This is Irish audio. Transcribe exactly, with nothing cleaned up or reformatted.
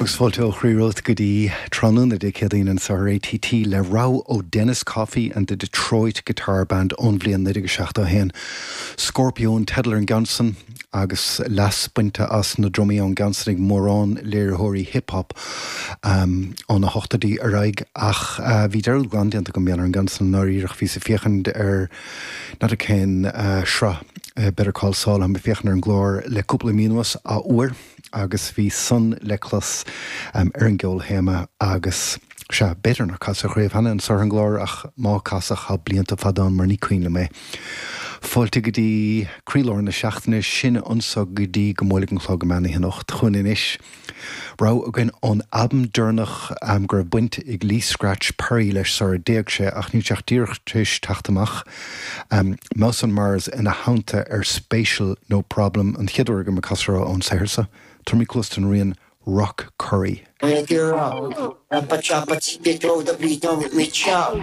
Agus fáilte ó chroí romhat go dtí tráthnóna Dé Céadaoin anseo ar ATT le rogha ó Dennis Coffey and the Detroit Guitar Band ón bhliain naoi déag seachtó haon. Scorpio an teideal ar an gceann san agus leas bainte as na drumaí ón gceann san ag mórán léiritheoirí hip-hop um, ó na hochtóidí ar aghaidh ach uh, bhí dearúd glan déanta agam ar an gceann san ndáiríre bhíos ag féachaint ar n'fheadar cén uh, sraith uh, Better Call Saul ag féachaint ar an gclár le cúpla mí anuas athuair agus bhí san le clos um, ar an gceolthéama agus sea b'fhéidir nár casadh riamh cheana anseo ar an gclár ach má casadh tá blianta fada ann mar ní cuimhin liom é. Fáilte go dtí croílár na seachtaine sin anseo go dtí go mbuailfidh an clog meán oíche anocht chugainn anois. Rogha againn ón albam deireanach um, go raibh baint ag Lee Scratch Perry leis sara d'éag sé ach níl sé díreach tar éis teacht amach. Um, Mouse on Mars ina theannta ar Spatial No Problem an chéad uair go mba casadh ón saothar seo. Tabharfaidh muid cluas don rian Rock Curry. Choppa choppa, get throw the beat on with me chop.